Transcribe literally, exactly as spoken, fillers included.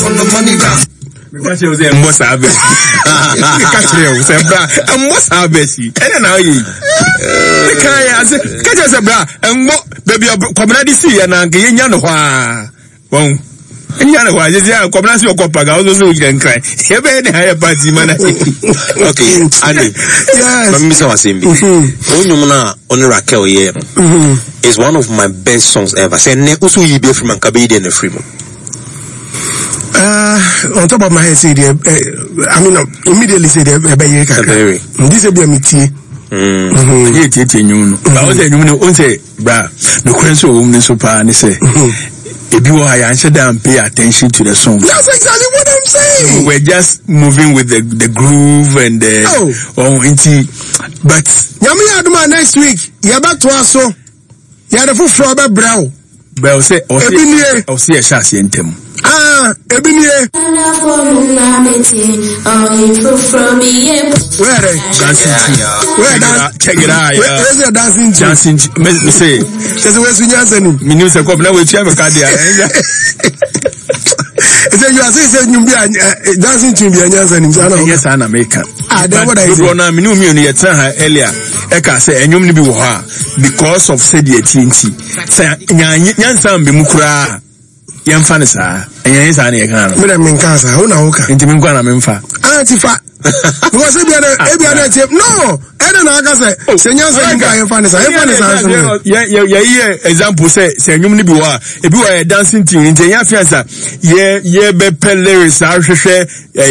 Meka kyerɛ wo sɛ ɛmmɔ saa bɛ. Meka kyerɛ wo sɛ bra, ɛmmɔ saa bɛ si. Ɛna na ɔyɛ yi. Meka yɛ ase, ka kyerɛ sɛ bra, ɛmmɔ baabi a Kwabena de sii yɛ na anka yɛnya no hɔ a. Wɔn. Ɛnya no hɔ a, sɛsi a Kwabena se ɔkɔ paga, ɔso sɛ wogyina Nkran. Yɛbɛyɛ ne hayɛ party ma na. Okay, Andy. Yes. Ma mebisa wo asɛm bi. Wo nnwom no a wo ne Raquel yɛɛ no is one of my best songs ever. Sɛ nnɛ wo so woyi bi afiri mu a, nka bɛyi dɛn na afiri mu? Uh, on top of my head, say the, uh, I mean, uh, immediately say the ɛbɛyere kakra. Ɛbɛyere. Ndi sɛ bi a metie. Yɛ tietie nnwom no. Ba wo sɛ nnwom no, wo sɛ bra, nokorɛ nso wɔ mu no nso paa ne sɛ, ebi wɔ ha yɛanhyɛ da and pay attention to the song. That's exactly what I'm saying. We were just moving with the the groove and the Oh. oh, nti, but Nyame yɛ adom a, next week yɛbɛtoa so. Yɛde foforɔ bɛbrɛ wo. Bɛl sɛ Ebi nie. Ɔsɛ yɛhyɛ aseɛ ntɛm. Ah, ebi nie. Where they? Dancing tune. Where Check it dan- out, check it out, Where yeah. where's your dancing tune? Dancing tune. Me me say Kyerɛ sɛ wɔasu nyansa nim. Me nim sɛ kɔp na wɔatua me ka deɛ. Sɛ you are saying sɛ nnwom bi a eh, eh, dancing tune bi a nyansa nim saa na Ɛnyɛ saa na meka. Ah, then what are you Dodoɔ no a mene wo mmienu yɛtena ha earlier ɛka sɛ ɛnwom no bi wɔ hɔ a, because of sɛdeɛ tie nti, sɛ nya- nyansa mbɛ mu koraa, yɛmfa no saa. Ɛnyɛ saa na yɛka no? Me dɛ, menka saa, wo na woka. Nti menkɔ na memfa. Ah, ti fa. Because ebia na ebia na tie no, ɛna na aka sɛ sɛ nyansa nim ka, yɛmfa ne saa, yɛmfa ne saa nso no. Yɛyɛ example sɛ sɛ nnwom no bi wɔ a, ebi wɔ yɛ dancing tune, nti ɛnyɛ afei ansa yɛ yɛbɛpɛ lyrics ahwehwɛ.